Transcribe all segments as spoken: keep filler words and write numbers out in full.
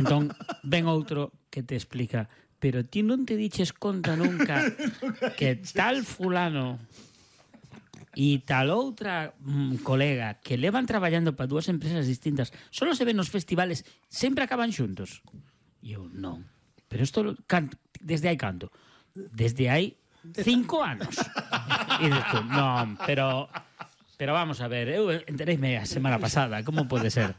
Entón, ven outro que te explica, pero ti non te diches conta nunca que tal fulano e tal outra mm, colega que levan traballando para dúas empresas distintas solo se ven nos festivales, sempre acaban xuntos. E eu, non. Pero isto, desde hai canto? Desde hai cinco anos. E dices tú, non, pero... Pero vamos a ver, eu entereime a semana pasada, como pode ser?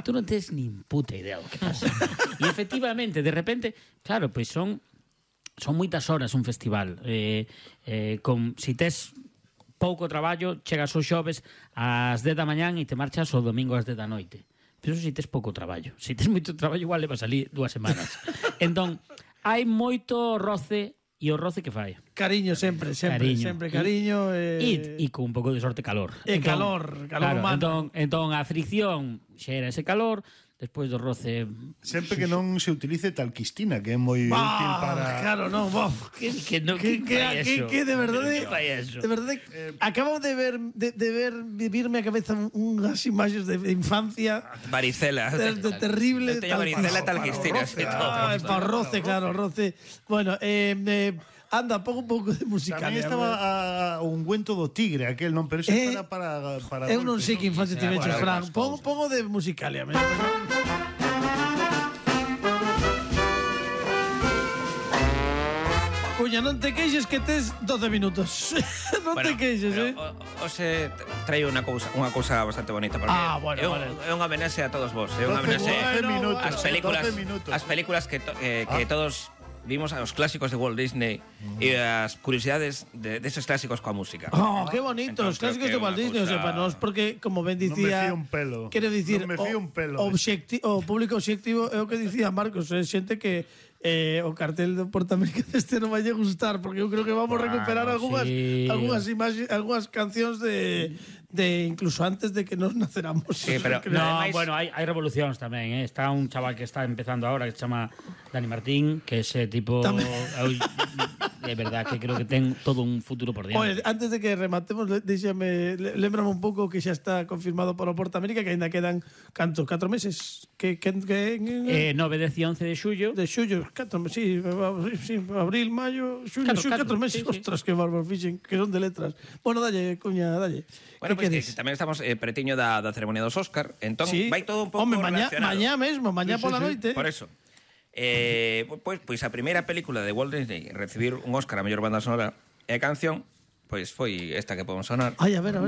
Tú non tens nin puta idea do que pasa. E efectivamente, de repente, claro, pois son son moitas horas un festival. Eh, eh, con, si tes pouco traballo, chegas os xoves ás dez da mañán e te marchas o domingo ás dez da noite. Pero si tes pouco traballo. Si tes moito traballo, igual levas ali dúas semanas. Entón, hai moito roce. E o roce que fai? Cariño sempre, sempre, cariño. sempre cariño. E, e, e con un pouco de sorte calor. E entón, calor, calor claro, humano. Entón, entón a fricción xera ese calor, despois do roce... Sempre que non se utilice talquistina, que é moi bah, útil para... Claro, non, bah. Que, que, no, que, que, que, que de verdade... De verdade, eh, acabo de ver, de, de ver, vivirme a cabeza unhas imaxes de infancia... Varicela. De, de terrible... Teño varicela talquistina. Ah, para roce, claro, roce. Bueno, eh... eh anda, pon un pouco de musical. Tamén estaba a, a ungüento do tigre, aquel, non? Pero iso eh, para, para, para... Eu non sei que infancia te veches, Fran. Pon, pon o de musicalia. Cuña, non te queixes que tes doce minutos. Non bueno, te queixes, eh? Hoxe traio unha cousa, unha cousa bastante bonita porque ah, bueno, é, un, vale. é unha homenaxe a todos vos, é unha homenaxe bueno, ás películas, as películas que to, eh, que ah. todos vimos a los clásicos de Walt Disney mm. y las curiosidades de, de esos clásicos con música. Oh, qué bonito, los clásicos de Walt Disney, cosa... o sea, para nos porque como ben dicía, non me fío un pelo. Quero dicir, non me fío un pelo. O, objecti, o público obxectivo é o que dicía Marcos, é xente que eh, o cartel do Portamérica deste non vai a gustar, porque eu creo que vamos a recuperar bueno, algunhas sí. algunhas imaxes, algunhas cancións de de incluso antes de que nos naceramos. Sí, pero no, además... bueno, hai, hai revolucións tamén, eh? Está un chaval que está empezando ahora que se chama Dani Martín, que ese tipo de verdad que creo que ten todo un futuro por diante. Oye, antes de que rematemos, déxame, lembrame un pouco que xa está confirmado por o Portamérica que ainda quedan cantos, catro meses. Que que, que eh nove, dez e once de xullo. De xullo, catro, sí, sí, abril, mayo, xullo, xullo, catro meses. Sí, sí. Ostras, que bárbaro fixen, que son de letras. Bueno, dalle, cuña, dalle. Bueno, pues que tamén estamos eh, pretiño da, da ceremonia dos Óscar, entón sí. vai todo un pouco Home, mañá, relacionado. Mañá mesmo, mañá sí, pola sí, noite. Por eso. Eh, pois, pois a primeira película de Walt Disney recibir un Óscar a mellor banda sonora e a canción, pois foi esta que podemos sonar. Ai, a ver, a ver.